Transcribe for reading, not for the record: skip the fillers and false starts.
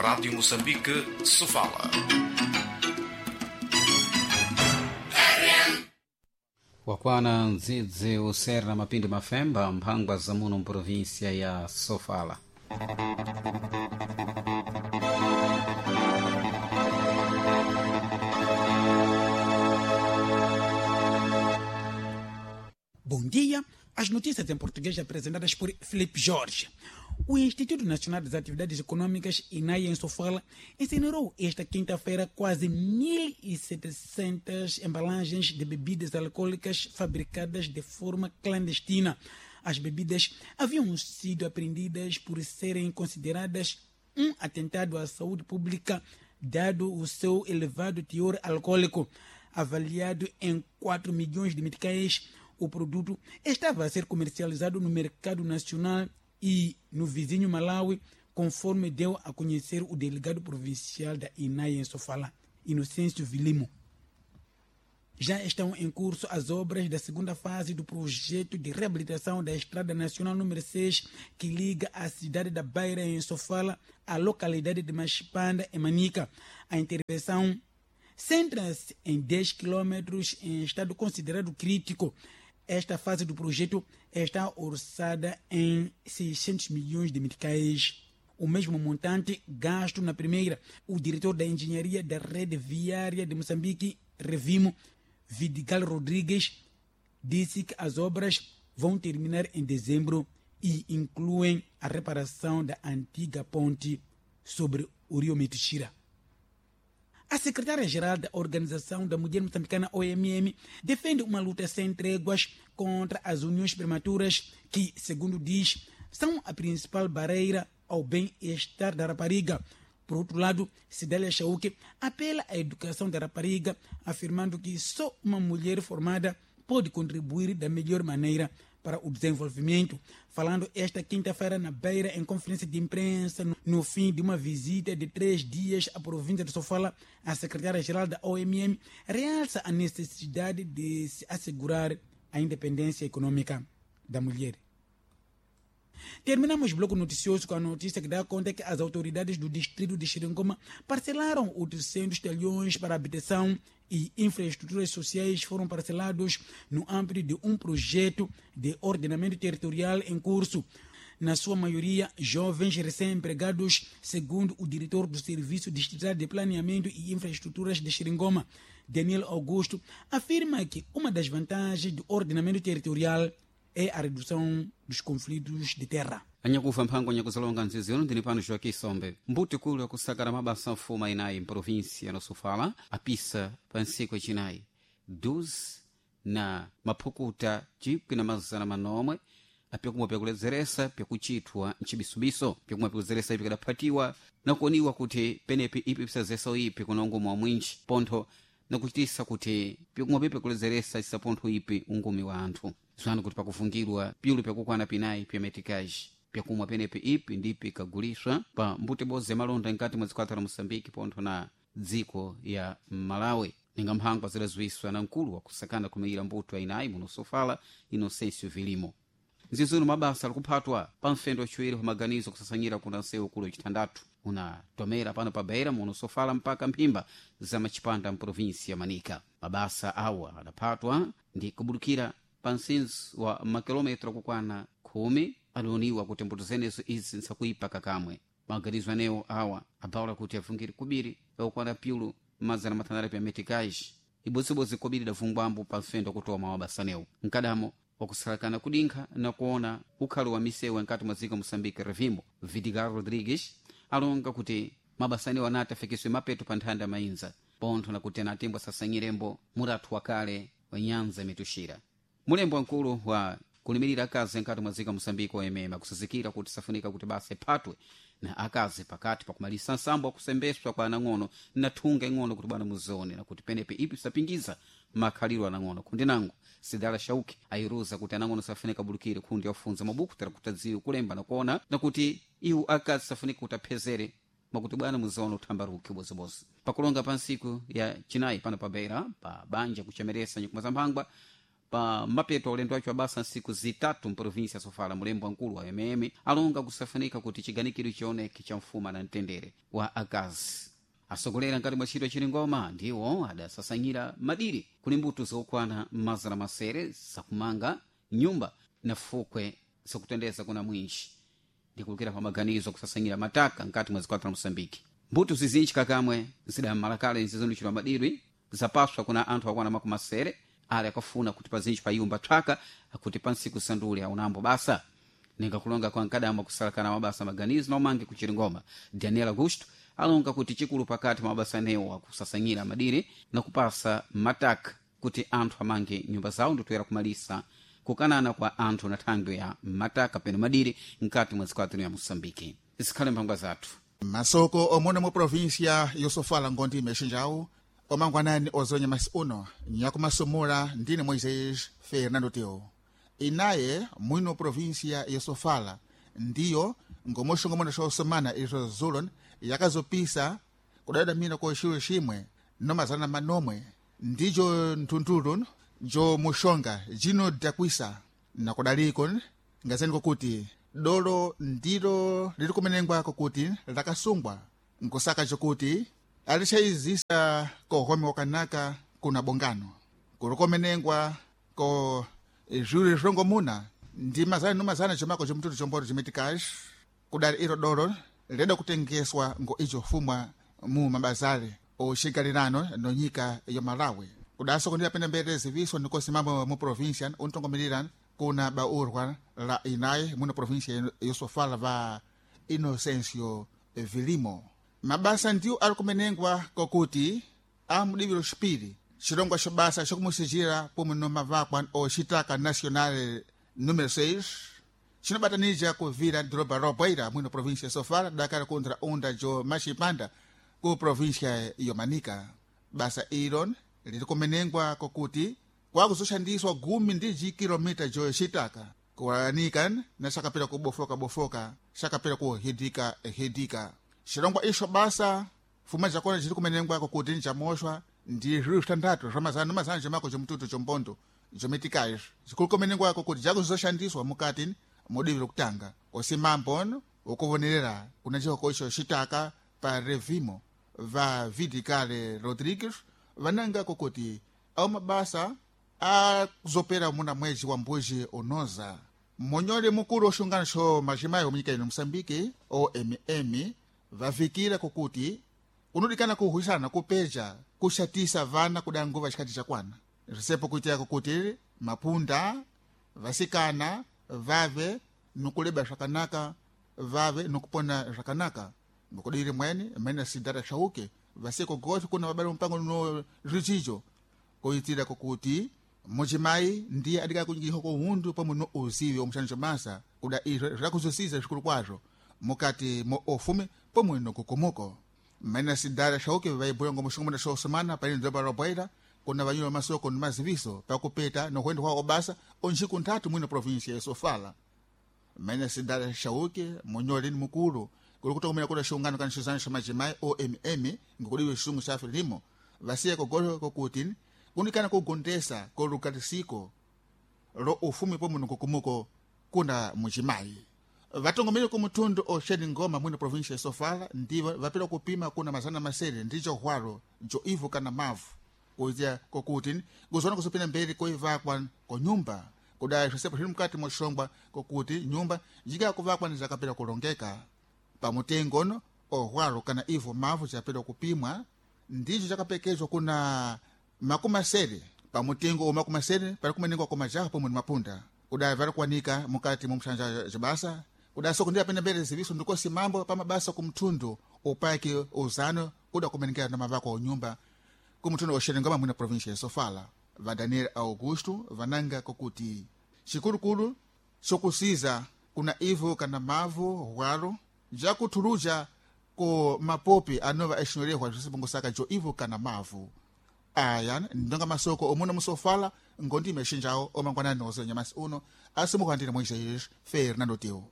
Rádio Moçambique, Sofala. Wakwana ndzidzi usera mapindi mafemba mphangwa za muno mprovinsia ya Sofala. Bom dia. As notícias em português apresentadas por Felipe Jorge. O Instituto Nacional das Atividades Econômicas, INAI, em Sofala, incinerou esta quinta-feira quase 1.700 embalagens de bebidas alcoólicas fabricadas de forma clandestina. As bebidas haviam sido apreendidas por serem consideradas um atentado à saúde pública, dado o seu elevado teor alcoólico. Avaliado em 4 milhões de meticais, o produto estava a ser comercializado no mercado nacional e no vizinho Malawi, conforme deu a conhecer o delegado provincial da INAI em Sofala, Inocêncio Vilimo. Já estão em curso as obras da segunda fase do projeto de reabilitação da Estrada Nacional número 6, que liga a cidade da Beira, em Sofala, à localidade de Machipanda, em Manica. A intervenção centra-se em 10 quilômetros em estado considerado crítico. Esta fase do projeto está orçada em 600 milhões de meticais, o mesmo montante gasto na primeira. O diretor da Engenharia da Rede Viária de Moçambique, Revimo, Vidigal Rodrigues, disse que as obras vão terminar em dezembro e incluem a reparação da antiga ponte sobre o rio Metixira. A secretária-geral da Organização da Mulher Moçambicana, OMM, defende uma luta sem tréguas contra as uniões prematuras que, segundo diz, são a principal barreira ao bem-estar da rapariga. Por outro lado, Cidália Chauque apela à educação da rapariga, afirmando que só uma mulher formada pode contribuir da melhor maneira para o desenvolvimento. Falando esta quinta-feira na Beira, em conferência de imprensa, no fim de uma visita de 3 dias à província de Sofala, a secretária-geral da OMM realça a necessidade de se assegurar a independência econômica da mulher. Terminamos o bloco noticioso com a notícia que dá conta que as autoridades do distrito de Xiringoma parcelaram 800 talhões para habitação e infraestruturas sociais foram parcelados no âmbito de um projeto de ordenamento territorial em curso. Na sua maioria, jovens recém-empregados, segundo o diretor do Serviço Distrital de Planeamento e Infraestruturas de Xiringoma, Daniel Augusto, afirma que uma das vantagens do ordenamento territorial é a redução dos conflitos de terra. Anyakufa mphango nyakuzalonga nzizi uno ndini pano Joaquim Sombe. Mbuti kulu akusakala mabasa mfuma inayi mprovinsia ya Sofala apisa pa ntsiku yacinayi 12 na maphukuta 1900 apyakumwa pyakuledzeresa pyakuchithwa ncibisubiso pyakumwa pyakudzeresa ipi kadaphatiwa nakuoniwa kuti penepi ipi pisazesa ipi kuna ungumi wa mwinji pontho nakuchitisa kuti pyakumwa pipi kuledzeresa cisapontho ipi ungumi wa anthu zwanu kuti pakufungirwa pyulu pyakukwana pinayi pya metikaji pyakumwa penepi ipi ndipi ikaguliswa pa mbuti bodzi ya malonda nkati mwa dzikwata la Moçambique pontho na dziko ya Malawi. Ninga mphangwa zidaziwiswa na mkulu wakusakana kumeyira mbuto ainayi muno Sofala, Inocêncio Vilimo. Nzizuno mabasa alikuphatwa pa mfendo waciwiri pa maganizo kusasanyira kuna nsewu ukulu wacitandatu unatomera pano pa Beira muno Sofala mpaka mphimba za Machipanda mprovinsi ya Manica. Mabasa awa adaphatwa ndi kubudukira pa msinzi wa makilometro akukwana 10 adaoniwa kuti mbuto zenezo izi nsakuipa kakamwe. Maganizo anewo awa abawula kuti avungire kubiri yakukwana pyulu mazana matandatu pya metikaji ibodzibodzi kobiri idavungwambo pa mfendo wakutoma wabasanewo mkadamo wakusalakana kudinkha na kuona ukhalo wa misewu nkati mwa dziko Moçambique Revimbo Vidigal Rodrigues alonga kuti mabasanewo anati afikiswe mapeto pa nthanda mainza pontho nakuti anatembo asasanyirembo murathu wakale wa nyanza mituxira. Mulembo wamkulu wa kulimirira akazi nkati mwa dziko Moçambique wayemema kusazikira kuti safunika kuti basa iphatwe na akazi pakati pakumalisa nsambo wakusembeswa kwa anang'ono na thunga ing'ono kuti bwana muzione nakuti penepe ipi sapingiza makhaliro anang'ono. Kundi nango Sidala Shauki ayiruza kuti anang'ono safunika bulukire kundi yafunza mabuku tera kuti adziwe kulemba nakuona nakuti iwu akazi safunika kuti aphezere mwakuti bwana muzione uthambaruki ubozibozi. Pakulonga pa ntsiku ya chinayi pano pa Beira pa banja kuchemeresa nyikuma za mphangwa Pa mapeto ulendo wacho wabasa nsiku zitatu mprovinsia Sofala, mulembo wankulu wa mm alonga kusafanika kuti chiganikiro chioneke cha mfuma na mtendere wa akazi. Asogolera nkati mwa ntchito chiringoma ndiwo adasasanyira madiri kuli mbuto zokwana mazana masere zakumanga nyumba na fukwe zakutendeza kuna mwinji ndikulukira pa maganizo kusasanyira mataka nkati mwa zikwata la Moçambique. Mbuto zizinji kakamwe zidamalakale nzizonichidwa madiri zapaswa kuna anthu akwana makumi masere ali akafuna kuti pazinji payumba thwaka akuti pansiku sandule aunambo basa. Ningakulonga kwa nkadama kusalakana mabasa maganizo na umange kuchiringoma Daniel Augusto alonga kuti chikulu pakati mwa mabasa anewo akusasanyira madiri na kupasa mataka kuti anthu amange nyumba zawo nditoyera kumalisa kukanana kwa anthu na thangwi ya mataka peno madiri mkati mwa zikwatano ya Moçambique. Zikhale mphangwa zathu. Masoko omwe mu província yosofala ngondi imexinjawu omangwanani ozonya masi uno nyakumasumula ndine Moisés Fernando Teo. Inaye mwino província yosofala ndiyo ngomoxongomona xa osomana izo zulon yakazopisa kudadamira ko xiwo ximwe nomazana manomwe ndijo nthuntulu jo muxonga jino dakwisa nakudaliko ngazeni kokuti dolo ndilo lili kumenengwa kokuti lakasungwa nkusaka cokuti alixaizisa kohome wakanaka kuna bongano kuli komenengwa ko zwili zwongomuna ndi mazana nomazana comako comtutu comboto cimitikaxi kudali ilo dolo leda kutengeswa ngo ico fumwa mu mabazale oxigalirano nonyika ya Malawi. Kudaso kundira pene mbere ziviso nikosimamo mu província untongomelera kuna baurwa la inaye muno província yosofala va Inocencio Vilimo. Mabasa ndiwo ali kumenengwa kokuti amudiviro xipiri xilongwa xa basa xokumuxixira pomwe nomavakwa oxitaka nacional número 6 cinobatanija kuvira doroba Roboira mwino província Sofala dakala kontra onda jo Maxipanda ku província Yomanika. Basa ilo lili kumenengwa kokuti kwakuzoxandiswa gumi ndi jikilomita jo xitaka kuwalanika na xakapela kubofoka-bofoka xakapela kuhidika-hidika. Xilongwa ixo basa fuma jakona jili kumenengwa kokuti njamoxwa ndi zwilu xitandatu zwa mazana nomazana jomako jomtutu jombondo jomitikaxo zikulu kumenengwa kokuti jakuzoxandiswa mukati modivira kutanga osimambo ukuvonerera kuna cihoko ixo xitaka pa revimo va Vidicale Rodrigues vananga kokuti ao mabasa azopera muna mwezi wa mbuji unoza. Monyole mukulu oxungano xo majimayi omunyika ino Moçambique OMM vavikira kokuti kunodikana kuhwisana kupeja kuxatisa vana kuda nguva xikati xakwana risepo kuitika kokuti mapunda vasikana vave nukuleba zvakanaka vave nukupona zvakanaka ngokudiri mwene mene sidara xauke vasiko gote kuna vabali mpango no zvichicho kuitira kokuti muchimayi ndiye adika kunyikiha kohundu pamwe no uzivi omuxaniso masa kuda izvo zvakuzosiza zvikulu kwazvo mukati mo ofume pomwe nokukomuko. Mene sidara xauke vaibuya ngomuxongomona xosomana pani doroba Roboira kuna vanyula masoko ni maziviso pakupeta nokuenda kwa obasa onxiku nthatu mwino província yosofala. Mene sidara xauke munyoleni mukulu kuli kutokomera kuda xungano kana xizano xa majimayi OMM ngokudiwe xungu xa Frelimo vasiya kogolo kokuti kunikana kugondesa kolukatisiko lo ufumi pomwe nokukumuko kuna mujimayi. Vatongomere kumutundu oxeni ngoma mwino província Sofala ndivo vapela kupima kuna mazana masere ndico hwalo jo ivu kana mavu kuitia kokuti kuzona kusopina mbele koivakwa konyumba kudai zvisepo zviri mukati moxongwa kokuti nyumba jikakuvakwa nizakapela kulongeka pamutengono ohwalo kana ivo mavu japela kupimwa ndicho chakapekezwa kuna makumi asere pamutengo o makumi asere pali kumenengwa kwa majaha pomwe ni mapunda kudai vari kuwanika mukati mo mxanja jibasa kudai soko ndi apene mbele ziviso ndikosi mambo pamabasa kumthundu upaki uzano kuda kumenengera na mavako onyumba kumthundu oxerengama mwina província ya Sofala. Va Daniel Augusto vananga kokuti xikulukulu xokusiza kuna ivo kana mavu hwalo jakuthuluja ko mapopi anova exinolehwa zvisipongosaka jo ivo kana mavu. Aya ndonga masoko omuna musofala ngondime exinjawo omangwanani nozo nyamasi uno asimukuhandire Moisés Fernando Teo.